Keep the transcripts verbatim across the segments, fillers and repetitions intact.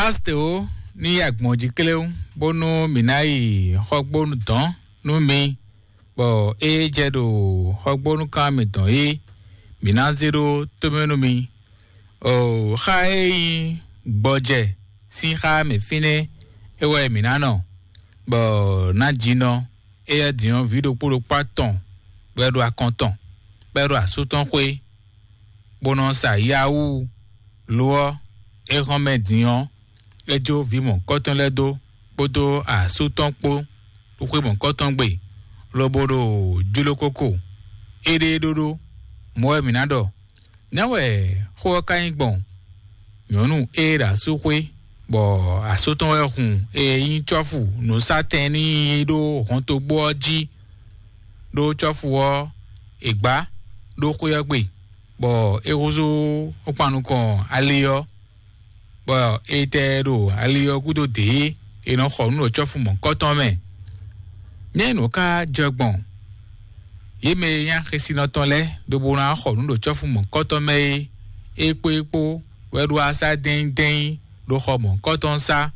Aste ó, ní yi agbɔ̌n jí kléwún, bónú mǐ ná yi xɔgbónu dɔ̌n nú mi, bɔ é jɛ ɖo xɔgbónúkan mitɔn é, mǐ ná zé ɖó tómɛ nú mi. O, xá e nyí gbɔjɛ sín xá mɛ fínɛ́ é wɛ mǐ ná nɔ, bɔ ná jinɔ éyɛ́ din ɔ́, vǐ ɖokpó ɖokpó atɔn bɔ é ɖo akɔn tɔn, bɔ é ɖo asú tɔn xwé, bó nɔ sa yawú. Lo ɔ́, é hɔn mɛ din ɔ́, é jó vǐ mɔ̌hunkɔtɔn lɛ́ɛ dó, kpódó asú tɔn kpó, ɖo xwé mɔ̌hunkɔtɔn gbe, lobo ɖo jló kóko. Éɖée ɖóɖó, mɔ̌ wɛ mǐ ná ɖɔ. Nɛ̌ wɛ xó ɔ́ ka nyí gbɔn? Nyɔ̌nu e ɖo asú xwé, bɔ asú tɔn wɛ hun e nyí cɔ́fu nǔsátɛn n'i ɖó hɔntogbó ɔ́ jí, ɖó cɔ́fu ɔ́ è gbǎ ɖó xwé ɔ́ gbe, bɔ é húzú kpan nukɔn ali ɔ́, bɔ è tɛ ɖo ali ɔ́ gúdo dě, è nɔ xɔ nǔ ɖo cɔ́fu mɔ̌hunkɔtɔn mɛ. Nɛ̌ nǔ ka jɛ gbɔn? Yě mɛ e nyí axésinɔ tɔn lɛ́ɛ ɖokpó ná xɔ nǔ ɖo cɔ́fu mɔ̌hunkɔtɔn mɛ é, é kpó é kpó wɛ ɖo asá dɛ́nyí dɛ́nyí ɖo xɔ mɔ̌hunkɔtɔn sá.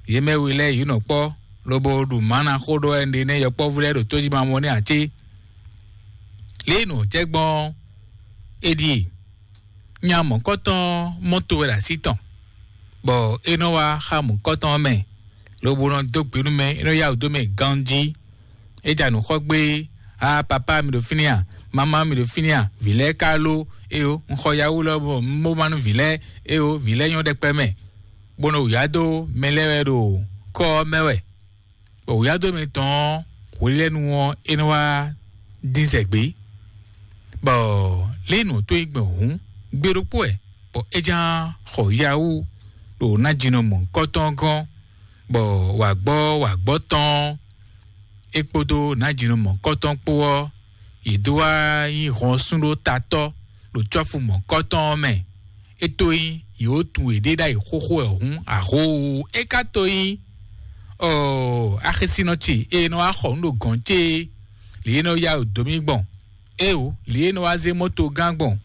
Yě mɛ we lɛ́ɛ yě nɔ kpɔ́, lobo ɖu mǎ ná xó ɖɔ wɛ ɖe nɛ́ yɔkpɔ́vú lɛ́ɛ ɖo tójí ma mɔ nɛ́ ǎ cé? Lě e nǔ ɔ́ jɛ gbɔn ɔ́, é ɖíe: nya mɔ̌kɔtɔn mɔ to wɛ ɖo así tɔn, bɔ é nɔ wá xá mɔ̌kɔtɔn ɔ́ mɛ, lobo nɔ dó gbe nú mɛ, é nɔ yá wǔ dó mɛ ganjí. É ja nǔ xɔ gbé: "A papá, mi ɖo fínɛ́ a? Mamá, mi ɖo fínɛ́ a? Vǐ lɛ́ɛ ka lo? Éyo, un xɔ yawú lɔ bɔ un bó má nú vǐ lɛ́ɛ. Éyo, vǐ lɛ́ɛ nyɔ́ ɖɛkpɛ mɛ, bó nɔ wǔyá dó mɛ lɛ́ɛ wɛ ɖo kɔ́ ɔ́ mɛ wɛ." Bɔ wǔyá dó mɛ tɔn ɔ́, hwelɛ́nu ɔ́, é nɔ wá dín zɛ gbé. Bɔ lě nǔ tó yi gbɔn hǔn, gbe ɖokpó wɛ, bɔ é ján xɔ yawú ɖo nájínɔ mɔ̌hunkɔtɔn gɔ́n, bɔ wǎgbɔ́ wǎgbɔ́ tɔn é kpódó nájínɔ mɔ̌hunkɔtɔn kpó ɔ́, yě dó wá nyí hɔn súnɖó tatɔ́ ɖo cɔ́fu mɔ̌hunkɔtɔn ɔ́ mɛ. É tó nyí yě wǒ tunwun yěɖée ɖ'ayǐ xóxó wɛ hǔn, ahoo, é ka tó nyí ɔ axisínɔ ce e nɔ wá xɔ nǔ ɖo gɔ̌n ce é, lě e nɔ yá wǔ dó mì gbɔn, éeǒ, lě e nɔ wá zé mɔ́to gán gbɔn,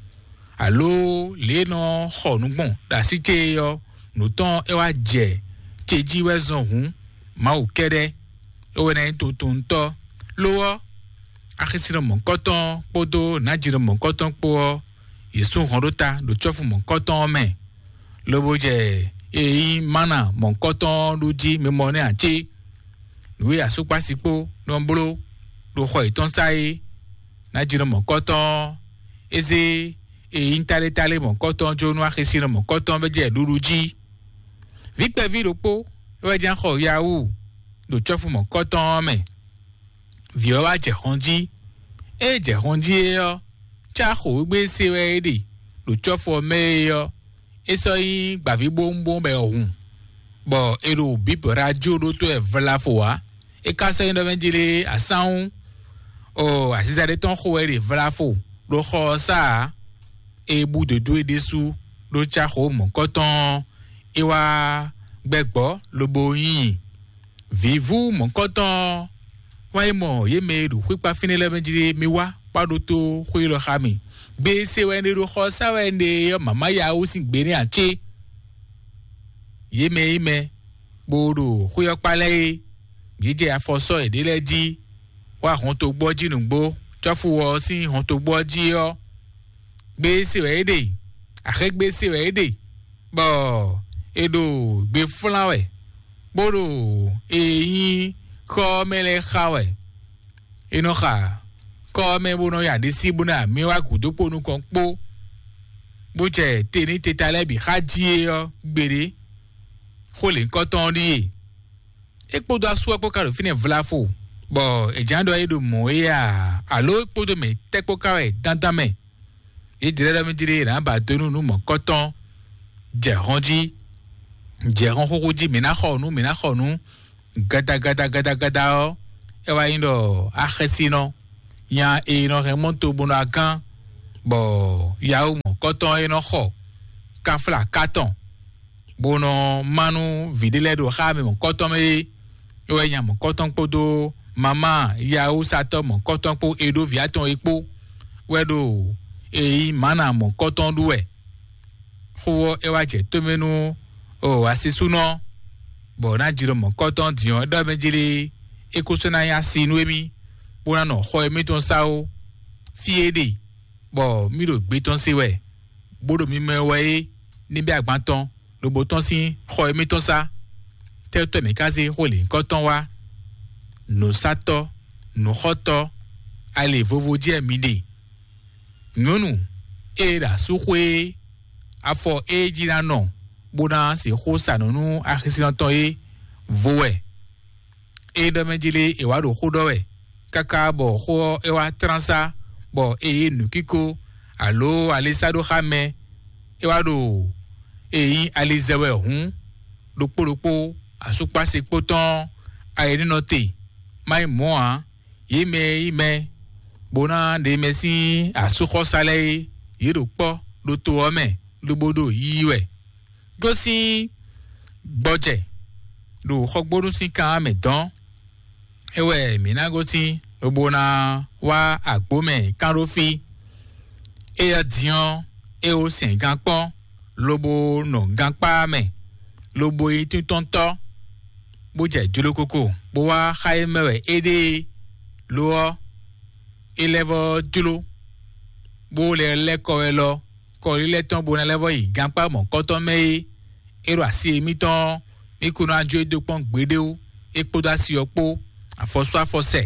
alo lě e nɔ xɔ nǔ gbɔn ɖo así ce é ɔ́, nǔ tɔn é wá jɛ ce jí wɛ zɔn hǔn, Mawu kɛ́ɖɛ́ é wɛ ná nyí tuntunntɔ́. Lo ɔ́, axisínɔ mɔ̌hunkɔtɔn kpódó nǎjínɔ mɔ̌hunkɔtɔn kpó ɔ́, yě sú hɔn ɖó ta ɖo cɔ́fu mɔ̌hunkɔtɔn ɔ́ mɛ, lobo jɛ e nyí mana mɔ̌hunkɔtɔn ɔ́ ɖu jí mimɔ nɛ́ ǎ cé? Nǔ e asúkpási kpó nɔ bló ɖo xɔ yětɔn sá é, nǎjínɔ mɔ̌hunkɔtɔn ɔ́, é zé e nyí tálétálé mɔ̌hunkɔtɔn jó nú axisínɔ mɔ̌hunkɔtɔn bɔ jɛ ɖuɖu jí. Vǐ kpɛví ɖokpó é wɛ jɛ́n xɔ yawú ɖo cɔ́fu mɔ̌hunkɔtɔn ɔ́ mɛ. Vǐ ɔ́ wá jɛ hɔn jí. Ée jɛ hɔn jí é ɔ́, cá xǒgbé se wɛ é ɖe ɖo cɔ́fu ɔ́ mɛ é ɔ́, é sɔ́ nyí gbǎvíbówúnbówún bɔ è hun, bɔ è ɖo bǐbɔ̌ ɖó ajó ɖótó wɛ vlafo ǎ. É ka sɔ́ nyí ɖɔ mɛ jlé asánwú, ɔ aziza ɖé tɔn xo wɛ ɖe vlafo ɖo xɔ ɔ́ sá ǎ. É bú dǒdó é ɖésú ɖó cá xǒ mɔ̌kɔtɔn ɔ́, é wá gbɛgbɔ́ lobo nyi vǐvú mɔ̌kɔtɔn ɔ́. Wá yi mɔ yě mɛ e ɖo xwíkpá fínɛ́ lɛ́ɛ mɛ jí mi wá kpá ɖótó xwé élɔ́ xá mì. Gbe se wɛ un ɖe ɖo xɔ sá wɛ un ɖe ɔ́, mǎmá ya wú sín gbe nɛ́ ǎ cé? Yě mɛ e nyí mɛ bó ɖo xwé ɔ́ kpá lɛ́ɛ é, yě jɛ afɔ sɔ́ yěɖée lɛ́ɛ jí, wá hɔntogbó ɔ́ jí nǔgbó, cɔ́fu ɔ́ sín hɔntogbó ɔ́ jí ɔ́, gbe se wɛ é ɖe, axégbé se wɛ é ɖe, bɔ è ɖo gbe flán wɛ, bó ɖo e nyí xɔ ɔ́ mɛ lɛ́ɛ xa wɛ. È nɔ xa kɔ́ ɔ́ mɛ bó nɔ ya ɖisí bó ná mì wá gǔdo kpó nukɔn kpó, bó jɛ te ní teta lɛ́ɛ bǐ xá jí é ɔ́ gbeɖé. Xó lěhunkɔtɔn ɔ́ ɖíe: é kpódó asú ɔ́ kpó ka ɖo fínɛ́ vlafo, bɔ è jǎ ɖɔ é ɖo mɔ̌ é a? Alo é kpódó mɛ tɛ́ kpó ka wɛ dandan mɛ? Yě jlɛ́ ɖɔ mì jlé yě ná ba dó nú nǔ mɔ̌kɔtɔn, jɛ hɔn jí, jɛ hɔn xóxó jí, mǐ ná xɔ nǔ, mǐ ná xɔ nǔ, gada gada gada gada ɔ́, é wá nyí ɖɔ axɛsinɔ nya e nɔ hɛn mɔto bó nɔ agán, bɔ yawu mɔ̌kɔtɔn e nɔ xɔ káfla kátɔn, bó nɔ má nú vǐ ɖé lɛ́ɛ ɖo xá mɛ mɔ̌kɔtɔn mɛ é. É wɛ nya mɔ̌kɔtɔn kpódó mamá yawúsatɔ́ mɔ̌kɔtɔn kpó e ɖó vǐ atɔn é kpó wɛ ɖo e nyí mǎna mɔ̌kɔtɔn ɖu wɛ. Xó ɔ́, é wá jɛ tómɛ nú O asisúnɔ, bɔ ná jló mɔ̌kɔtɔn din ɔ́ ɖɔ mɛ jlé é kó sɔ́ ná nyí asi nú émí, bó ná nɔ xɔ émítɔn sá ó. Fí e ɖe bɔ mí ɖo gbé tɔn se wɛ, bó ɖo mimɛ wɛ é, ní bɛ́ agban tɔn, lobo tɔn sín xɔ émítɔn sá. Tɛ́tɔ́ mǐ ka zé xó lǐnkɔ́tɔn wá? Nǔsátɔ́, nǔxɔ́tɔ́, ali vovo jɛ mi ɖe. Nyɔ̌nu e ɖo asúxwé é, afɔ e jí ná nɔ bó ná sixú sa nǔ nú axisínɔ tɔn é vo wɛ. É ɖɔ mɛ jí lé è wǎ ɖo xó ɖɔ wɛ, káká bɔ xó ɔ́ é wá tlán sá, bɔ é yí nǔkíko alo ali sá ɖó xá mɛ. É wá ɖo e nyí ali zɛ wɛ hǔn, ɖokpó ɖokpó asúkpási kpó tɔn ayǐnínɔ te, má nyí mɔ̌ ǎ. Yě mɛ e nyí mɛ bó ná ɖe mɛ sín asúxɔ́sá lɛ́ɛ é, yě ɖo kpɔ́ ɖo to ɔ́ mɛ, lobo ɖo yiyi wɛ. Gosín gbɔjɛ ɖo xɔgbónú sín kan ɔ́ mɛ dɔn. É wɛ mǐ ná gosín, lobo ná wá agbǒ mɛ kán ɖó fí. Éyɛ́ din ɔ́, é wó sɛn gan kpɔ́n, lobo nɔ gankpá mɛ, lobo yi tíntɔ́ntɔ́, bó jɛ jlokoko, bó wá xá e mɛ wɛ é ɖe é. Lo ɔ́, é lɛ́ vɔ́ jló, bó lɛ́ lɛ́ kɔ wɛ lɔ, kɔlílɛ́ tɔn bó ná lɛ́ vɔ́ yi gankpá mɔ̌kɔtɔn mɛ é. É ɖo asi émítɔn ɔ́, mí kún ná jó e dó kpɔ́n gbeɖé ó, é kpódó asi ɔ́ kpó, afɔsú afɔsɛ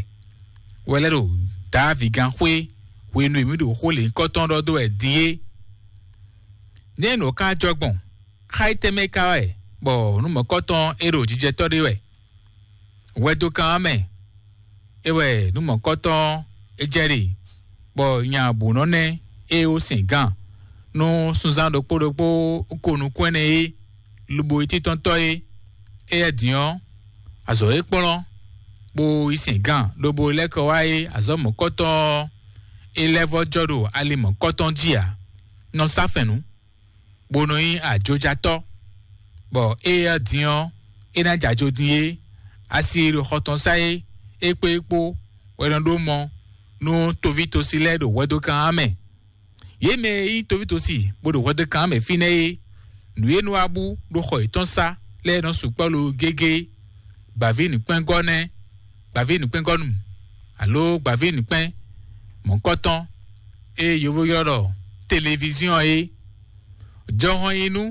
wɛ lɛ́ ɖo Dǎvigán xwé hwenu e mǐ ɖo xó lěhunkɔtɔn ɖɔ dó wɛ din é. Nɛ̌ nǔ ɔ́ ka jɔ gbɔn? Xá yi tɛnmɛ ka wɛ, bɔ nǔ mɔ̌kɔtɔn e ɖo jijɛtɔ́ ɖé wɛ? Hwɛdokán ɔ́ mɛ, é wɛ nǔ mɔ̌kɔtɔn é jɛ ɖe, bɔ nya bǔ nɔ nɛ́ é ó sɛn gǎn nú sunzán ɖokpó ɖokpó ko nukún ɛnɛ é, lobo yi títɔ́ntɔ́ é. Éyɛ́ din ɔ́, azɔ̌ e kplɔ́n bó yi sɛn gǎn lobo lɛ́ kɔ wá é, azɔ̌ mɔ̌kɔtɔn ɔ́, é lɛ́ vɔ́ jɔ ɖo ali mɔ̌kɔtɔn jí ǎ. Nɔ sá fɛ̌n nú, bó nɔ nyí ajojatɔ́, bɔ éyɛ́ din ɔ́, é ná jɛ ajo din é. Asi e ɖo xɔ tɔn sá é, é kpó é kpó wɛ nɔ ɖó mɔ nú toví tosi lɛ́ɛ ɖo hwɛdokán ɔ́ mɛ. Yě mɛ e nyí toví tosi bó ɖo hwɛdokán ɔ́ mɛ fínɛ́ é, nǔ e nɔ wá bú ɖo xɔ yětɔn sá lɛ́ɛ nɔ sukpɔ́ lo gégé. Gbǎví nǔkpɛ́ngɔ́ nɛ́, gbǎví nǔkpɛ́ngɔ́nu, alo gbǎví nǔkpɛ́n mɔ̌kɔtɔn e yovo ylɔ́ ɖɔ televiziɔn é. Jɔhɔn yi nú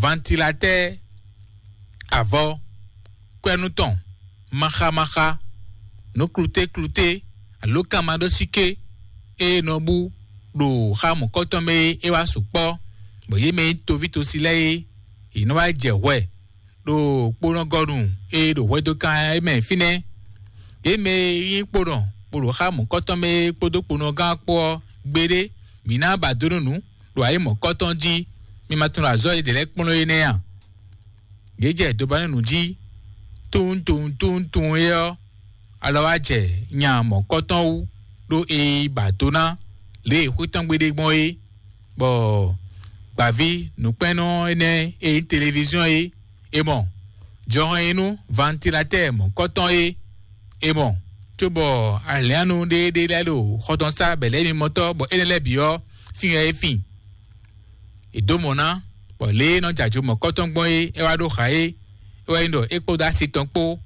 vantilatɛ́ɛ, avɔ, kwɛ́nú tɔn, maxamaxa, nǔ klutékluté, alo kanmaɖósíké e nɔ bú ɖo xá mɔ̌kɔtɔn mɛ é, é wá sukpɔ́, bɔ yě mɛ e nyí toví tosi lɛ́ɛ é, yě nɔ wá jɛ hwɛ ɖo kponɔgɔnu e ɖo hwɛdokán é mɛ fínɛ́. Yě mɛ e nyí kponɔ bó ɖo xá mɔ̌kɔtɔn mɛ é kpódó kponɔgán kpó ɔ́, gbeɖé mǐ ná ba dó nú nǔ ɖo ayǐ mɔ̌kɔtɔn jí. Mi ma tunwun azɔ̌ e ɖě lɛ́ɛ kplɔ́n é nɛ́ a? Yě jɛ dobanúnu jí, tunwun tunwun tunwun tunwun é ɔ́, alɔ wá jɛ nya mɔ̌kɔtɔn wú, ɖó è yi ba do ná lě e xwé tɔn gbe ɖe gbɔn é, bɔ gbǎví nǔkpɛ́nnɔ énɛ́ e nyí televiziɔn é, è mɔ jɔhɔn e nú vantilatɛ́ɛ mɔ̌kɔtɔn é, è mɔ, cóbɔ alǐannu ɖéeɖée lɛ́ɛ ɖo xɔ tɔn sá bɛ̌lɛ́mimɔtɔ́, bɔ énɛ́ lɛ́ɛ bǐ ɔ́, fín wɛ é fin. È dǒ mɔ̌ ná, bɔ lě e é nɔ jɛ ajo mɔ̌kɔtɔn gbɔn é, é wá ɖó xa é. É wɛ nyí ɖɔ é kpódó asi tɔn kpó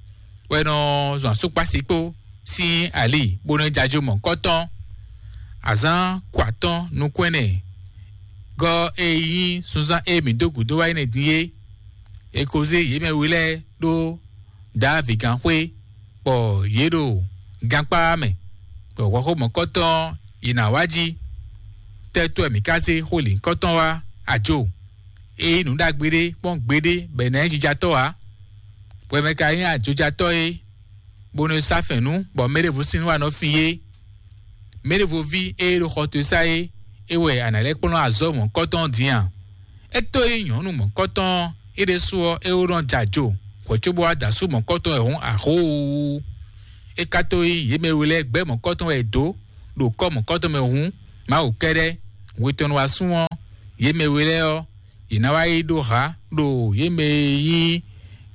wɛ nɔ zɔn asúkpási kpó sín ali, bó nɔ jɛ ajo mɔ̌kɔtɔn. Azǎn kɔ atɔ́n nukún ɛnɛ gɔ́ e nyí sunzán e mǐ dó gǔdo wá yi nɛ́ din é, è ko zé yě mɛ we lɛ́ɛ ɖó Dǎvigán xwé, bɔ yě ɖo gankpá mɛ, bɔ hwɛxó mɔ̌kɔtɔn ɔ́, yě ná wá jí. Tɛ́tɔ́ wɛ mǐ ka zé xó lǐnkɔ́tɔn wá? Ajo e nyí nǔ ɖagbe ɖé kpɔ́n gbeɖé bɔ è nǎ nyí jijatɔ́ ǎ. Hwɛ mɛ ka nyí ajojatɔ́ é, bó nɔ sá fɛ̌n nú, bɔ mɛɖěvo sín nú wá nɔ fin é. Mɛɖěvo ví e ɖo xɔ towe sá é, é wɛ a nǎ lɛ́ kplɔ́n azɔ̌ mɔ̌kɔtɔn din a? É tó nyí nyɔ̌nu mɔ̌kɔtɔn é ɖésú ɔ́, é wó nɔ jɛ ajo hwɛ̌ cóbó wá da asú mɔ̌kɔtɔn wɛ hǔn, ahóoo. É ka tó nyí yě mɛ we lɛ́ɛ gbɛ́ mɔ̌kɔtɔn wɛ è dǒ ɖo kɔ́ mɔ̌kɔtɔn mɛ hǔn, Mawu kɛ́ɖɛ́, hwetɔnnu wá sún ɔ́, yě mɛ we lɛ́ɛ ɔ́, yě ná wá yi ɖó hǎ ɖo yě mɛ e nyí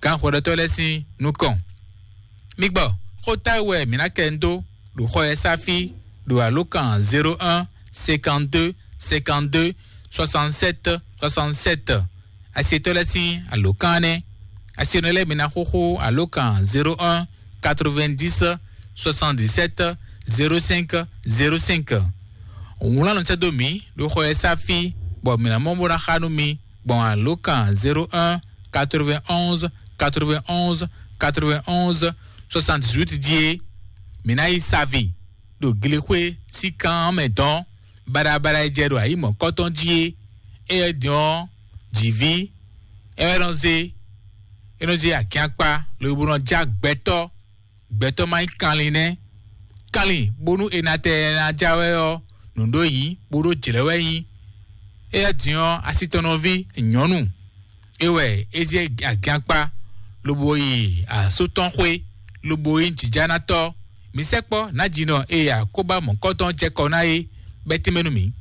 gǎnhwɛɖɔtɔ́ lɛ́ɛ sín nukɔn. Mi gbɔ, xó táwú wɛ mǐ ná kɛ ń dó ɖo xɔ e sáfí ɖo alǒkan zéro un cinquante-deux cinquante-deux soixante-sept soixante-sept. Asietɔ́ lɛ́ɛ sín alǒkan nɛ́. Asienɔ lɛ́ɛ mi ná xóxó alǒkan zéro un quatre-vingt-dix soixante-dix-sept zéro cinq zéro cinq. Wlán nɔ sɛ́ dó mǐ ɖo xɔ e sá fí, bɔ mǐ ná mɔ bó ná xa nú mi gbɔn alǒkan zéro un quatre-vingt-onze quatre-vingt-onze quatre-vingt-onze soixante-dix-huit jí é. Mǐ ná yi savi ɖo glexwé sín kan ɔ́ mɛ dɔn baɖabaɖa e jɛ ɖo ayǐ mɔ̌kɔtɔn jí é. Éyɛ́ din ɔ́, jǐví é wɛ nɔ zé é nɔ zé agiankpa lobo nɔ já gbɛtɔ́. Gbɛtɔ́ ma nyí kanlin nɛ́. Kanlin bónú è nǎ tɛ ɛ ná já wɛ ɔ́, nǔɖó nyí bó ɖó jlɛ̌ wɛ nyí. Éyɛ́ din ɔ́, asitɔnɔví nyɔ̌nu é wɛ é zé agiankpa lobo yi asú tɔn xwé, lobo nyí jǐjánátɔ́. Mǐ sɛkpɔ́ nǎjínɔ e akóbá mɔ̌kɔtɔn jɛ kɔ ná é bɛ́ tɛ́nmɛ nú mǐ.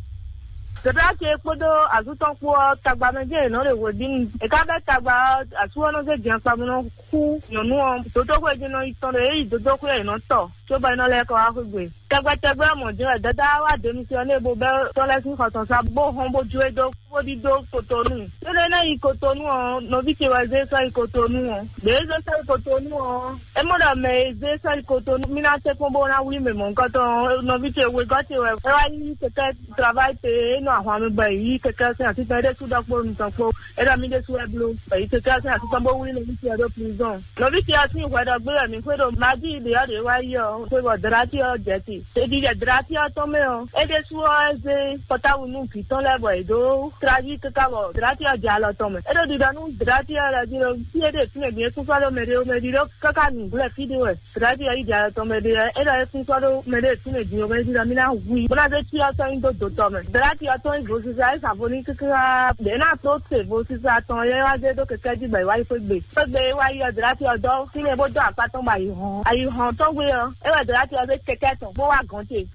Dodó ce kpódó azú tɔn kpó ɔ́, tagba mɛ jɛ́n yě nɔ ɖe hweɖínu. È ka bɛ́ tagba ɔ́, asú ɔ́ nɔ zé din akpa bó nɔ xú nyɔ̌nu ɔ́. Dodóxwé jí nɔ yi tɔn ɖo é yi dodóxwé ɔ́, yě nɔ tɔ, cóbɔ é nɔ lɛ́ kɔ wá xwé gbe. Tɛgbɛtɛgbɛ ɔ́ mɔ̌ jɛ́n wɛ Dadá wá dě misiyɔnɛ́ bo bɛ́ tɔn lɛ́ɛ sín xɔ tɔn sá bó hɔn bó jó e dó bó ɖidó Kotonu. Énɛ́ ná yi Kotonu ɔ́, nɔví ce wɛ zé sɔ́ yi Kotonu ɔ́. Ɖě e zé sɔ́ yi Kotonu ɔ́, é mɔ ɖɔ mɛ e zé sɔ́ yi Kotonu mí ná tɛ́ kpɔ́n bó ná wlí mɛ mɔ̌hunkɔtɔn ɔ́, nɔví ce wegɔ́ ce wɛ é wá yí kɛkɛ́ travail pe e nɔ ahwan mɛ bɔ è yí kɛkɛ́ sín atitɔn é ɖésú ɖɔ kpó nutɔn kpó. É ɖɔ mí ɖésú wɛ bló bɔ è yí kɛkɛ́ sín atitɔn bó wlí nɔví ce ɔ́ ɖó prison. Nɔví ce ɔ́ sín hwɛ ɖɔ gbé wɛ mǐ xwé ɖo Madi ɖě ɔ́ ɖě wá yi ɔ́, xwé bɔ Dlati ɔ́ jɛ te. Ɖeji jɛ Dlati ɔ́ tɔn mɛ ɔ́, é ɖésú ɔ́ é zé pɔtáwu nú vǐ tɔn lɛ́ɛ bɔ è dǒ tlaví káká bɔ Dlati ɔ́ jɛ alɔ tɔn mɛ. É ɖo ɖiɖɔ nú Dlati ɔ́ lɛ́ɛ jí ɖɔ fí e ɖe fínɛ́ din é kún sɔ́ ɖó mɛɖé ó mɛɖé ɖó káká nǔglɛ́ fí ɖé wɛ. Dlati ɔ́ yi jɛ alɔ tɔn mɛ ɖé ɔ́, é ɖɔ é kún sɔ́ ɖó mɛɖé fínɛ́ din ó mɛɖé ɖɔ mí ná hu i bó ná zé cyɔ tɔn nyi dó dǒ tɔn mɛ. Dlati ɔ́ tɔn nyí vodúnzá é sa vo n'i káká ɖě ná tó se vodúnzá tɔn é wá zé dó kɛkɛ́ jí bɔ è wá yi xwé gbe. Xwé gbe é wá yi ɔ́, Dlati ɔ́ dɔ́ fínɛ́ bó dó akpá tɔn bɔ ayǐ hɔn. Ayǐ hɔn tɔn gbe ɔ́, é wɛ Dlati ɔ́ zé kɛkɛ́ tɔn bó wá gɔ̌n ce.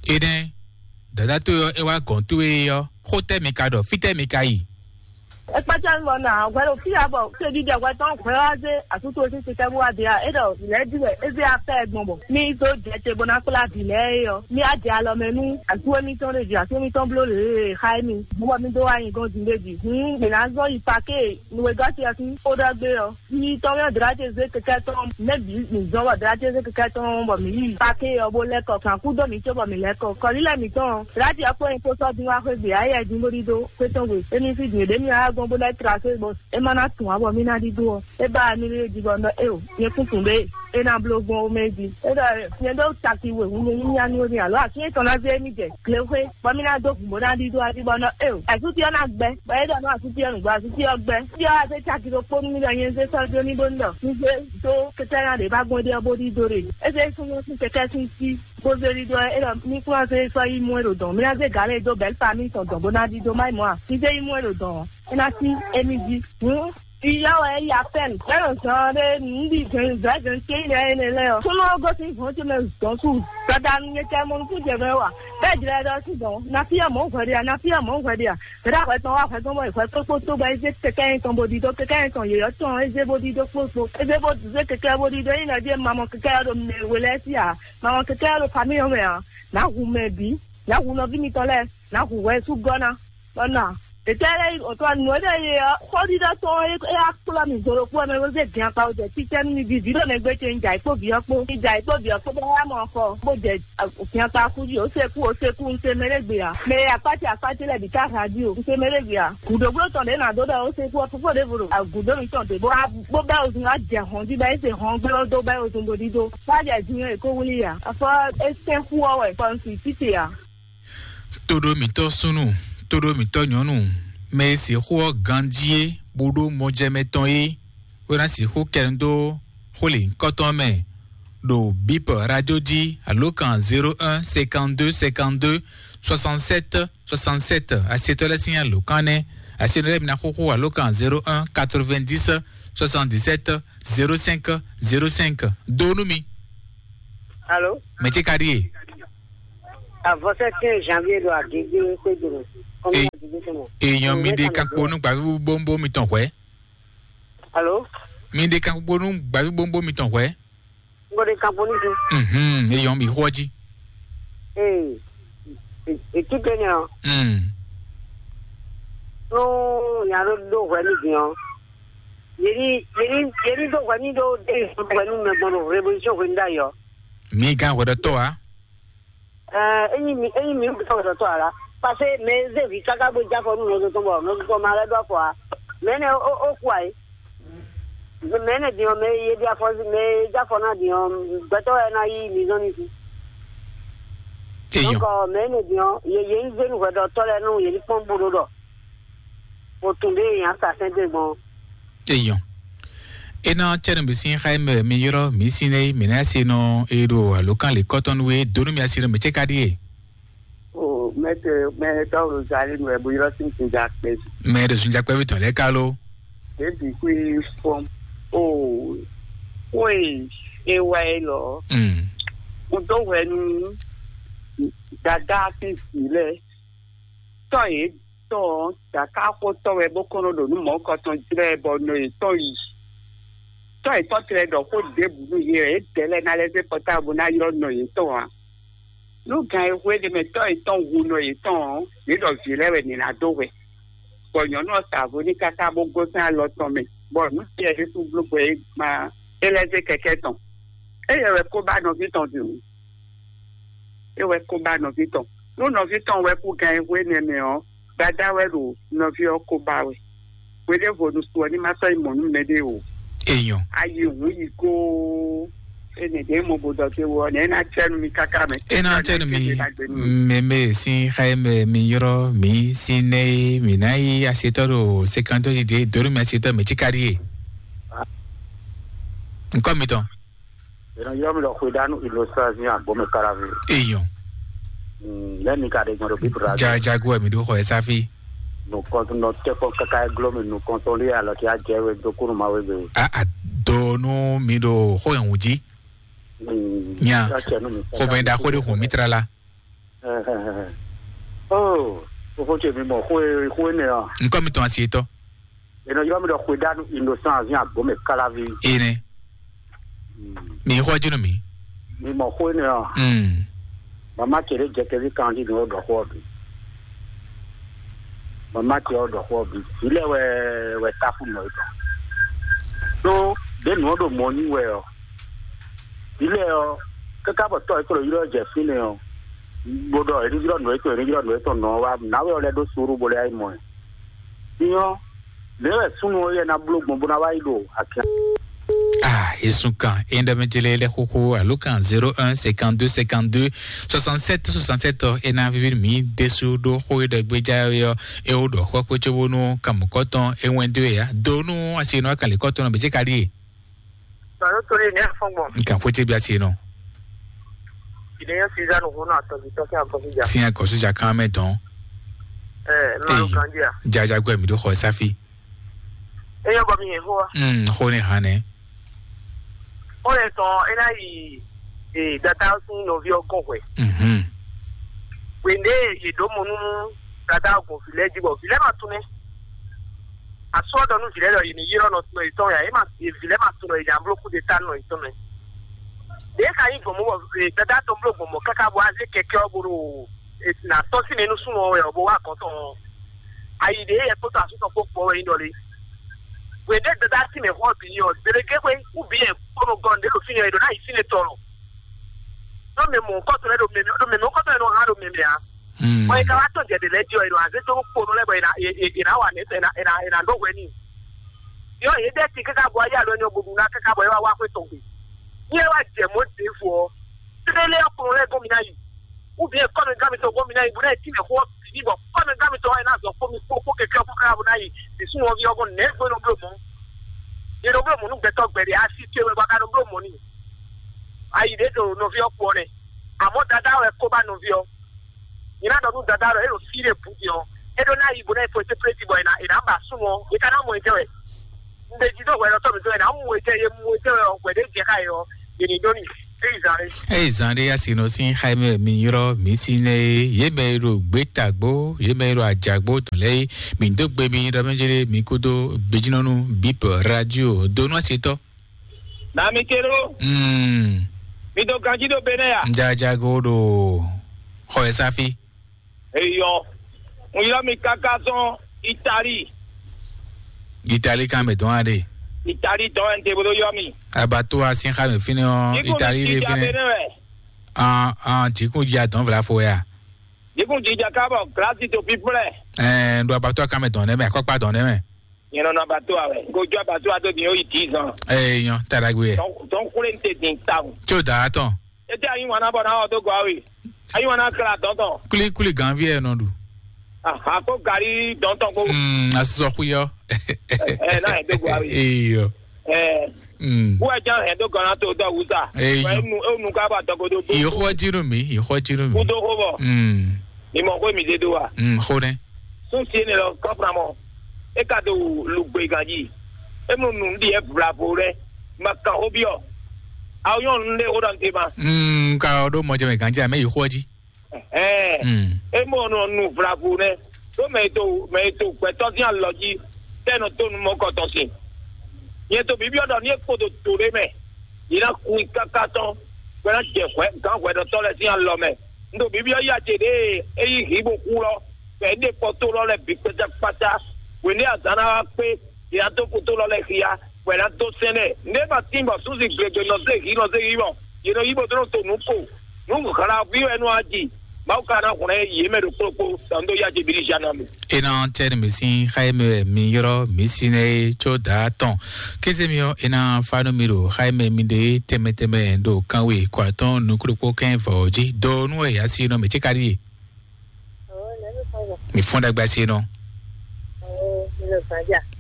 Énɛ́, dǎdá towe ɔ́, é wá gɔ̌n towe é ɔ́, xó tɛ́ mi ka ɖɔ? Fítɛ́ mi ka yi? É kpácá mi bɔ nɔ hwɛ ɖo fí ǎ bɔ fíɖíɖɛ hwɛ tɔn hwɛ wá zé asútó sín sitɛ́ bó wá de ǎ. É ɖɔ lɛ̌ ɖi wɛ é zé afɛ gbɔn bɔ mí dó jɛ te bó ná kplá vǐ lɛ́ɛ é ɔ́, mí á jɛ alɔ mɛ nú asú émítɔn ɖé jí, asú émítɔn bló lě e xa émí bó bɔ mí dó wá nyi gɔ́n din ɖé jí. Hǔn mǐ ná zɔ́n yi paké nǔwegɔ́ ce ɔ́ sín xó ɖɔ gbé ɔ́. Yi tɔn mɛ Dlati zé kɛkɛ tɔn mɛ bǐ mǐ zɔn bɔ Dlati zé kɛkɛ tɔn bɔ mǐ yi pake ɔ́ bó lɛ́ kɔ kan kú dó mǐ cóbɔ mǐ lɛ́ kɔ kɔlílɛ mǐtɔn Dlati ɔ́ kpó nyɛ kpó sɔ́ dín wá xwé gbe ayɛ dín bó ɖídó xwé tɔn gbe émí fí din ɖě mì wá gbɔn bó lɛ́ tra xwé bɔ é má ná tun ǎ bɔ mí ná ɖídó ɔ́. É ba mi lé jí bɔ nɔ éo nyɛ kún tun ɖé é ná bló gbɔn ó mɛ jí. É ɖɔ nyɛ ɖó taki we hun nyɛ nyí nyanu émí alo asin tɔn ná zé émí jɛ glexwé bɔ mí ná dó hǔn bó ná ɖídó adi bɔ nɔ éo asúti ɔ́ ná gbɛ bɔ é ɖɔ nɔ asúti ɔ́ nǔgbó asúti ɔ́ gbɛ. Tí ɔ́ azé caki ɖokpó nú mí ɖɔ nyɛ zé sɔ́ jó ní bó ní ɖɔ un zé dó kɛkɛ́ ná ɖě bá gbɔn ɖé ɔ́ bó ɖídó ɖe. É zé súnnu sín kɛkɛ́ sín sí bó zé ɖídó ɔ́ é ɖɔ mí kún wá zé sɔ́ yi mú é ɖo dɔ̌n mí ná zé gǎn lɛ́ɛ dó bɛ̌ famí tɔn dɔ̌n bó ná ɖídó má yi mɔ̌ a. Un zé yi mú é ɖo dɔ̌n ɔ́ é ná cí émí jí. Hǔn Iyɔ́ wɛ é yi apɛ́n bɛ́ nɔ zɔn ɖé nǔɖi zɛ̌nzɛ̌n ce yi nɛ énɛ́ lɛ́ɛ ɔ́. Súnnu ɔ́ gosín hɔn ce mɛ dɔn su. Dadanu nyɛ kɛ mɔ nukún jɛ mɛ wa. Bɛ́ jlɛ ɖɔ sí dɔn. Na fí ɔ́ mɔ̌ hwɛ ɖe a, na fí ɔ́ mɔ̌ hwɛ ɖe a. Mɛ ɖé ahwɛ tɔn wá hwɛ tɔn bɔ hwɛ kpókpó tó bɔ é zé kɛkɛ́ nyɛ tɔn bó ɖidó kɛkɛ́ nyɛ tɔn yěyɔ́ tɔn é zé bó ɖidó kpókpó. É zé bó zé kɛkɛ́ bó ɖidó é nyí nɔ jí ma mɔ kɛkɛ́ ɔ́ ɖo mɛ we lɛ́ɛ sí a. Ma mɔ kɛkɛ́ ɔ́ ɖo famí ɔ́ mɛ a. Nǎ hu mɛ bǐ. Nǎ hu nɔví mitɔn lɛ́ɛ. Nǎ hu hwɛ sú gɔ́ ná. Bɔ nɔ a? Ètò ɛlɛ yi òtún anú ɛlɛ yi ɔ xɔɖiɖɔ tɔn ɛ ya kplɔ mi zolo kpɔ mɛ wozɛ gɛn akpa wozɛ titɛ mi vivi ɖo nɛgbɛ ce nja ikpó viɔ kpó nja ikpó viɔ kpó bɛ ya mɔ xɔ bó jɛ gɛn akpa kú ji o se kú o se kú n se mɛ ɖe gbe a mɛ akpati akpati lɛ bi ka ha ji o n se mɛ ɖe gbe a gudogblo tɔn ɖe na do ɖɔ o se kú ɔ fofo ɖe vo ɖo agudo mi tɔn de bó bó bɛ ozun a jɛ hɔn ji bɛ ese hɔn gbɛ do bɛ ozun bo ɖi do bá jɛ ji yɛn èkó wuli a afɔ esɛn kú ɔ wɛ kɔ n si tite a. Tóɖó mǐtɔn súnnu, tóɖó mǐtɔn nyɔ̌nu, mɛ e sixú ɔ́ ganjí é, bó ɖó mɔjɛmɛ tɔn é, bó ná sixú kɛ nu dó xó lěhunkɔtɔn mɛ ɖo bip radio jí alo kan zéro un cinquante-deux cinquante-deux soixante-sept soixante-sept. Asietɔ́ lɛ́ɛ sín alǒkan nɛ́. Asietɔ́ lɛ́ɛ mi ná xóxó alo kan zéro un quatre-vingt-dix soixante-dix-sept zéro cinq zéro cinq. Dó nú mi. Alo. Mɛ ce ka ɖíe? Avɔsɛ quinze janvier ɖo Agége xwédo mɛ. Kɔmi Agége tɔn mɛ. Èèyàn mi ɖe kan kpó nú gbàgbé bóńbó mi tɔn hwɛ̌. Alo. Mi ɖe kan kpó nú gbàgbé bóńbó mi tɔn hwɛ̌. N ko ɖe kan kpó nú su. Mhm, èèyàn mi xwọ́ jí. Ee, ètí tɛ nɛ ɔ. Mm. Nú nya ɖó ɖó hwɛ nú din ɔ́, yě ní yě ní yě ní ɖó hwɛ n'i ɖó ɖé hwɛ nú mɛ gbɔn ɖo revolution hwenu ɖ'ayǐ ɔ́. Mi gán hwɛɖɔtɔ́ ǎ. Ɛɛ, ényí mi ényí mi ɖo hwɛɖɔtɔ́ ǎ la, parce que mɛ e zé vǐ káká bó jɛ afɔ nú nɔzo tɔn bɔ nɔzo tɔn ma lɛ́ ɖó afɔ ǎ. Mɛ énɛ́ ó ó kú ǎ é. Mɛ énɛ́ din ɔ́, mɛ e yě ɖi afɔ mɛ e jɛ afɔ ná din ɔ́, gbɛtɔ́ wɛ ná yí mi zɔn ní sí. Eyɔn. Donc mɛ énɛ́ din ɔ́, yě yě ní zé nú hwɛɖɔtɔ́ lɛ́ɛ nú yě ní kpɔ́n bó ɖó ɖɔ o tun ɖé e nya sa sɛn dó gbɔn. Eyɔn. Ena cɛnu mi sin xa mɛ mi yɔrɔ mi sin ne mi na se nɔ e ɖo alokan le kɔtɔn we donu mi asi nɔ mi ce ka die. O mɛtɛ mɛtɛ o zali nɔ ɛbu yɔrɔ sin sin ja kpɛ. Mɛ ɖo sun jakpɛ bi tɔn lɛ kalo. Ebi kui fɔm. O oye ewa e lɔ. Mm. Mo dó hwɛ nú dada fi si lɛ. Tɔ́ yě tɔn ɔ́, ɖakáxotɔ́ wɛ bó kɔn nɔ ɖo nǔ mɔ̌kɔtɔn jlɛ́ bɔ nɔ yětɔn yi. Tɔ́ yětɔn tlɛ ɖɔ xó ɖěbǔ nú yě wɛ, yě dɛ̌ lɛ́ɛ ná lɛ́ zé pɔtáblu ná ylɔ́ nɔ yětɔn ǎ. Nú gan e hwe ɖ'é mɛ tɔ́ yětɔn hu nɔ yětɔn ɔ́, yě ɖɔ vǐ lɛ́ɛ wɛ nǐ ná dó hwɛ. Bɔ nyɔ̌nu ɔ́ sa vo n'i káká bó gosín alɔ tɔn mɛ, bɔ nǔ ce yɛ ɖésú bló gbɛ é gbán é lɛ́ zé kɛkɛ́ tɔn. Éyɛ́ wɛ kó ba nɔví tɔn din. É wɛ kó ba nɔví tɔn. Nú nɔví tɔn wɛ kú gan e hwe nɛ́ mɛ ɔ́, dadá wɛ ɖo nɔví ɔ́ kó ba wɛ. Hweɖěvo nu su ɔ́ ní ma sɔ́ yi mɔ̌ nú mɛɖé o. Èèyàn. Ayi hǔn yi góó. Énɛ́ ɖě mo bo dɔ dé wɔ nɛ̌ ná cɛ́ nú mi káká mɛ. É ná cɛ́ nú mi. Mɛmɛ sín xá e mɛ mi ylɔ́ mi sín nɛ́ e mi ná yí asetɔ́ ɖo sekantɔ́ ɖiɖe dǒ nú mi asetɔ́ mɛ cíká ɖíe. Nkɔ mitɔn. Eno yɔ mi lɔ xwe danu ilosazi agbome karavi. Eyɔn. Lɛ mi ka de gbɔn do bibra. Jajago mi do xɔ esafi. Nukɔntɔn nɔ tɛkɔ kaka eglo mi nukɔntɔn li alɔ ti ajɛ we do kunu ma we gbe. A a do nu mi do xɔ yɛn wudzi. Nya xɔ bɛ da xɔ de xɔ mi tra la. Oh, o fo ce mi mɔ xwe xwe ne ɔ. Nkɔ mi tɔn asi etɔ. Eno yɔ mi lɔ xwe danu innocent avi agbome kalavi. Ene. Mi xɔ jinu mi. Mi mɔ xwe ne ɔ. Mm. Mama ce ɖe jɛ kɛvi kan di nɔ ɖɔ xɔ bi. Mama ce ɔ ɖɔ xɔ bi. Ilé wɛ wɛ tafu nɔ yi dɔ. Ɖó ɖe nɔ ɖo mɔ nyi wɛ ɔ. Ilé ɔ kaka bɔ tɔ yi klo ylɔ jɛ fi ne ɔ. Bó ɖɔ eɖi ylɔ nɔ etɔn eɖi ylɔ nɔ etɔn nɔ wa nawɛ ɔ lɛ ɖó suru bó lɛ ayi mɔ ɛ. Nyɔ, lě wɛ súnnu ɔ́ yɛ ná bló gbɔn bó ná wá yi ɖo akɛ. Ah, yesu kan e ɖɔ mi jele lɛ xoxo alo kan zéro un cinquante-deux cinquante-deux soixante-sept soixante-sept ɔ e ná vivi mi desu ɖo xó e ɖɔ gbéjá ɔ́ é wó ɖɔ xɔ kpé cóbónú kan mɔ̌kɔtɔn é wɛn dó ya dó nú asi nɔ kan lě kɔtɔn nɔ bɛ cé ka ɖíe. Sɔ̀rọ̀ tó lé ní ẹ̀fọ́ngbọ̀n. Nkan xwé cé bí asi nɔ. Ìdẹ́yẹ Suzanne Hona àtọ̀jù tọ́kí àkọsíjà. Sin akɔsíjà kan mɛ dɔn. Ẹ máa ń kan díà. Jaja gbẹ mi ɖó xɔ sáfì. Eyɔn bɔ mi yẹn fún wa. Mm, xó ne hàn nɛ. Ó lè tán ẹ náà yìí dada sín nɔví ọgọ́n hwɛ. Mhm. Wende yèdó mo nú dada ọgọ́n fìlẹ́ jí bɔ fìlẹ́ máa tún mẹ́. Asɔ́dɔ nú vǐ lɛ́ɛ ɖɔ yě ní ylɔ́ nɔ tɔn yětɔn ya, é ma vǐ lɛ́ɛ ma tunɔ yě nya bló kúdeta nɔ yětɔn mɛ. Ɖě ka nyí gbɔn mɔ bɔ dada tɔn bló gbɔn mɔ káká bɔ azé kɛkɛ ɔ́ bó ɖo nà tɔ́ sí mɛ nú súnnu ɔ́ wɛ ɔ́ bó wá gɔ̌n tɔn ɔ́. Ayi ɖě yɛ kpódó asú tɔn kpó kpɔ́ wɛ nyí ɖɔ lé. Hwě ɖé dada sí mɛ xɔ bǐ nyí ɔ́, zěɖéké xwé kú bǐ yɛ kpónɔ gɔn ɖě ɖo fínɛ́ è ɖǒ ná yi fínɛ́ tɔn lɔ. Ɖó mɛ mɔ̌hunkɔtɔn lɛ́ɛ ɖo mɛ mɛ ɖó mɛ mɔ̌hunkɔtɔn lɛ́ɛ nɔ hán ɖo mɛ mɛ ǎ. Bɔ è ka wá tɔ́n jɛ ɖě lɛ́ɛ jí ɔ́, è nɔ azé dó kponɔ lɛ́ɛ bɔ è nǎ è- è- è nǎ wa nɛ̌ tɔn è nǎ è nǎ è nǎ ɖó hwɛ n'i. Yɔ yě dɛ́ ti káká bɔ ayé alo ɛni ɔ́ bó ɖu ná káká bɔ é wá wá xwé tɔn gbe. Ní é wá jɛ mɔ̌ ɖěvo ɔ́, tlélé ɔ́ kponɔ lɛ́ɛ gɔ́n mi ná yi. Ou bien kɔ́mɛ gán mi tɔn gɔ́n mi ná yi bó ná yi tínmɛ xó ɔ́ bǐ bɔ kɔ́mɛ gán mi tɔn wá yi ná zɔ kpó mi kpó kpó kɛkɛ ɔ́ kpó káká bó ná yi. Bǐ súnnu ɔ́ ví ɔ́ gɔ́n nɛ̌ gbé nɔ bló mɔ̌. Yě nɔ bló mɔ̌ nú gbɛtɔ́ gbɛɖe asi ce wɛ bɔ a ka nɔ bló mɔ̌ n'i. Ayi ɖě ɖo nɔví ɔ́ kpó ɔ́ nɛ́. Àmọ́ dadá wɛ kó bá nɔví ɔ́. Nyina ɖɔ nú dada ɖɔ é ɖo fí ɖé bǔ din ɔ́, é ɖó ná yi bó ná yi fɔ étépléti bɔ è nǎ è nǎ ba súnnu ɔ́, è ka ná mɔ ɛ jɛ wɛ. Un ɖe jí ɖó hwɛ ɖɔtɔ́ mǐtɔn è nǎ mɔ ɛ jɛ, è mɔ ɛ jɛ wɛ ɔ́, hwɛ ɖé jɛ xá yě ɔ́, è nǐ ɖó n'i. É yi zan ɖé. Eye zan ɖé asi nɔ sín xá mɛ mi ylɔ́ mi sí nɛ é, yě mɛ e ɖo gbětagbó, yě mɛ e ɖo ajǎgbó tɔn lɛ́ɛ é, mi dó gbe mi ɖɔ mɛ jɛ mi kúdó gbejínɔ́nú bíp radio dó nú asetɔ́. Na mi ke ɖó. Mm. Mi do ganjí ɖo be nɛ ya. Jajago ɖo xɔ ɛ sáfí. Eyɔ. Un ylɔ́ mi káká sɔn Itali. Itali kan mɛ dɔn aɖe. Itali dɔn ɛn te bolo yɔ mi. Abato asin xa mɛ fínɛ ɔ. Itali de fínɛ. Bene wɛ. An an jikun ja dɔn vla fo ya. Jikun jija kabɔ glasi to píplɛ. Ɛɛ ɖo abato kan mɛ dɔn nɛ mɛ akɔkpa dɔn nɛ mɛ. Nyɛ nɔ nɔ abato awɛ. Ko jo abato ado din o yi dix ans. Ɛɛ nyɔ tadagbe yɛ. Dɔn kule n te din ta o. Tso da atɔn. Ete ayi wana bɔ na ɔ do gɔ awe. Ayi wana kla dɔn tɔn. Kuli kuli ganvi yɛ nɔ ɖu. Aha ko gari dɔn tɔn ko. Mm, asosɔ xuyɔ. Ɛ na yɛ do gɔ awe. Eyɔ. Ɛ. Mm. Wɛ jan hɛn dó gɔnna tó dɔ wusa. Eyɔ. Wɛ nu enu ka ba dɔgɔdo bó. Yixɔ dzi nú mi, yixɔ dzi nú mi. Kudo xó bɔ. Mm. Mi mɔ xó mi de do wa. Mm, xó nɛ. Sun sie ne lɔ kɔfra mɔ. E ka do lugbe ganji. E mu nu ɖi e vlavo lɛ. Ma kan xó biɔ. Awo nyɔnu ɖe xó ɖɔ n te ma. Mm, ka ɔ ɖo mɔjɛ mɛ ganji amɛ yixɔ dzi. Ɛɛ. Mm. E mɔ nɔ nu vlavo nɛ. Ɖó mɛ e to mɛ e to gbɛtɔ́ sín alɔ jí tɛ nɔ tó nu mɔkɔtɔn sin. Nyɛ to bibiɔ ɖɔ ní e kpo ɖo to ɖé mɛ, yě ná kun i káká tɔn, bɔ é ná jɛ hwɛ gǎn hwɛɖɔtɔ́ lɛ́ɛ sín alɔ mɛ. Un ɖo bibiɔ yí acě ɖě e é yí hǐ bó xú lɔ, bɔ é ɖe kpɔtó lɔ lɛ́ɛ bǐ kpátákpátá. Hwěɖé azǎn ná wá kpé, yě ná dó kutó lɔ lɛ́ɛ xia, bɔ è nǎ dó sɛn nɛ. Nǔ e ma tín bɔ súnsi glegbe nɔ zé hǐ nɔ zé hǐ mɔ, yě nɔ yí bó dó nɔ to nǔ ko. Nǔ hla ví wɛ nú aji. Mawu ka ná hwlɛ́n yě mɛ ɖo kplɔ́kpó, tɔn dó yá Jebílízanɔ́mi. E nɔ tɛ nú mi sín xá e mɛ wɛ mi ylɔ́ mi si nɛ é có dǎ tɔn. Kéze mi ɔ́, e ná fa nú mi ɖo xá e mɛ mi ɖe tɛnmɛ tɛnmɛ ɖo kanwe kɔ atɔ́ɔ́n nukúɖokpó kɛ́n vɔ̌ ɔ́ jí. Do nú wɛ yǎ si nɔ mɛ cé ka ɖíe? Mi fɔ́n ɖagbe asi nɔ.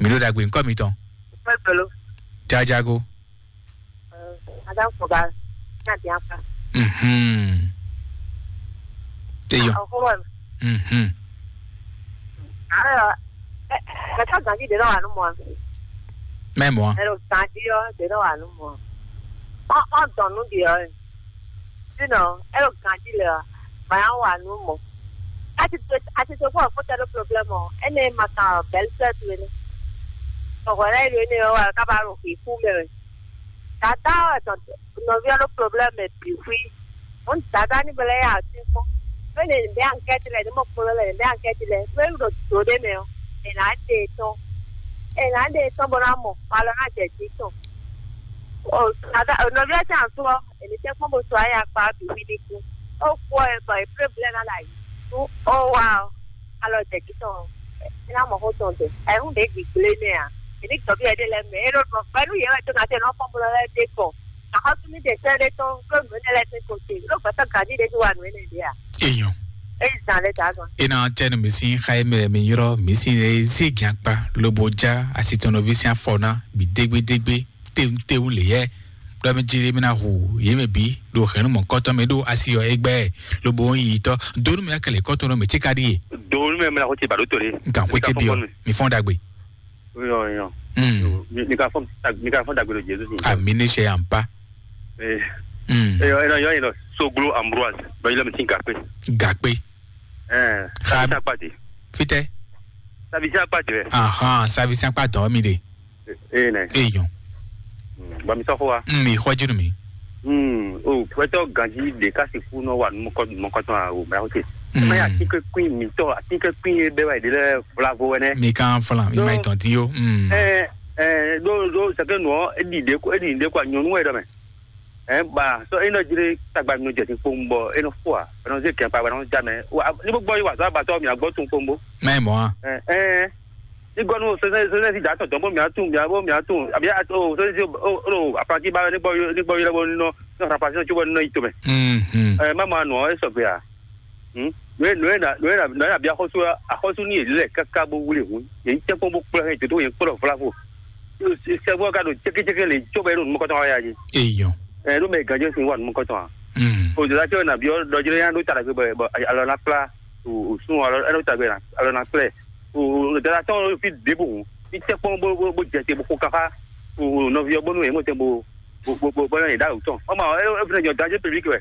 Mi ɖo ɖagbe ŋkɔ mitɔn. Jajago. Mhm. Eyɔ. Mhm. Mɛ tɔn ganji ɖe nɔ wa nu mɔ. Mɛ mɔ. Ɛ ɖo ganji ɔ ɖe nɔ wa nu mɔ. Ɔ ɔ dɔn nu ɖi ɔ. Sinɔ, ɛ ɖo ganji lɛ ɔ, ma ya wa nu mɔ. Ati to ati to kpɔ fo tɛ ɖo problème ɔ. Ene ma kan belle sœur tu ene. Ɔhɔ lɛ ɖo ene ɔ wa kaba ɖo xixu mɛ wɛ. Dada ɔ tɔn nɔvi ɔ ɖo problème mɛ bi xwi. Ŋun dada ni bele ya asi kpɔn. Bele bɛ enquête lɛ ni mɔ kplɔ lɛ bɛ enquête lɛ. Bele ɖo do ɖe mɛ ɔ. Ena ɖe tɔn. Ena ɖe tɔn bɔ na mɔ. Alɔ na jɛ ji tɔn. O dada nɔvi ɔ ti asu ɔ. Ena tɛ kpɔn bo so ayi akpa bi xwi ni ku. O kpɔ ɛ bɔ e problème na la yi. Tu o wa ɔ. Alɔ jɛ ji tɔn. Ena mɔ xo tɔn dɛ. Ɛ ŋun ɖe gbigble nɛ a. Eni tɔbi ɛɖe lɛ mɛ. Eno nɔ pɛlu yɛ wɛ to na tɛ nɔ kpɔn bolo lɛ de kɔ. Axɔsúmi ɖe sɛ́ ɖé tɔn ɖó nǔ énɛ́ lɛ́ɛ sín xo ce, ɖó gbɛtɔ́ ganjí ɖé ní wa nǔ énɛ́ ɖé a? Eyɔn. Eyi zan lɛ́ dǎ gan. E na tɛ nu mi sín xa e mɛ mi ylɔ́ mi sín e zé gɛn akpa lobo já asi tɔn nɔví sín afɔ ná bi dégbédégbé téwútéwú lě yɛ. Ɖɔ mi jí mi ná hu yě mɛ bǐ ɖo hɛ̌nnu mɔ̌kɔtɔn mɛ ɖó asi ɔ́ égbɛ́ lobo ń yi tɔ́. Donu mi akɛlɛ kɔtɔn nɔ mɛ tí ka ɖíe. Donu mɛ mla ko ti ba ɖó to ɖe. Gan ko ti biɔ. Mi fɔn ɖagbe. Yɔ yɔ. Mm. Mi ka fɔ mi ka fɔ dagbe ɖo Jesu sin. Ami ne sɛ yan pa. Ee. Mm. Eyɔ eyɔ eyɔ eyɔ Soglo Ambroise bɛ yɛlɛ mi sin gakpe. Gakpe. Ɛɛ. Xa. Sabisa kpati. Fitɛ. Sabisa kpati rɛ. Ahan, sabisa kpati mi de. Ee nɛ. Eyɔn. Bɔn mi sɔxɔ wa. Mm, mi xɔ jinu mi. Hmm, o gbɛtɔ ganji ɖe ka sixú nɔ wa numɔkɔ numɔkɔtɔn a o mɛ awote. Mm. Mɛ atikɛkui mitɔ atikɛkui ye bɛ wa yi ɖe lɛ vlavo wɛ nɛ. Mi kan flan mi ma tɔn ti yo. Mm. Ɛ ɛ ɖo ɖo sɛkɛ nɔ edi ɖe ko edi ɖe ko nyɔnu wɛ ɖɔ mɛ. Ɛ ba sɔ enɔ jire tagba mi nɔ jɛ ti kpowun bɔ enɔ fo a enɔ ze kɛn pa wɛ enɔ ja mɛ wa ni bɔ gbɔ yi wa sɔ abatɔ mi agbɔ tun kpowun bo. Mɛ mɔ a. Ɛ ɛ Ní gɔ́ nú sɛsɛ sɛsɛ si dǎ tɔn dɔn bó mǐ á tunwun mǐ á bó mǐ á tunwun àbí o sɛsɛ si o o apaki ba ní gbɔ ní gbɔ ylɔ́ bó ní nɔ ní xɔ apaki tɔn cóbɔ ní nɔ yi tomɛ. Mhm. Ɛ má ma nɔ ɛ sɔgbe a. Hmm? Nǔ e nǔ e na nǔ e na nǔ e na bí axɔ́sú axɔ́sú ní yě lɛ káká bó wlé hǔn yě ní tɛ́nkpɔ́n bó kplɔ́ hɛn jǒdó yě kplɔ́ vlavo. Sɛgbɔ́ ka ɖo cékécéké lě cóbɔ é ɖo nǔmɔkɔtɔn wá yá jí. Eyɔn. Ɛ ɖó mɛ gǎnjɛ sin wá nǔmɔkɔtɔn a. Mm. O jǒdá cɛ na byɔ́ ɖɔjlɛ́ yá ɖó ta ɖagbe bɔ alɔ ná kplá o o sún alɔ ɛnɔ ta gbɛ alɔ na kplɛ o o dada tɔn fi ɖěbǔ hùn fi tɛ kpɔn bó bó bó jɛ te bó xo kafa o o nɔvi ɔ bónú yɛ mɔ tɛ bó bó bó bó bó yɛ ɖa o tɔn ɔmɔ ɛ ɛ fɛnɛ jɔ danger public wɛ.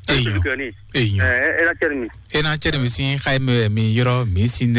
Eyɔn. Eyɔn. Ɛ ɛ ɛ na cɛ ni mi. Ena cɛ ni mi sin xa mi mi yɔrɔ mi sin ne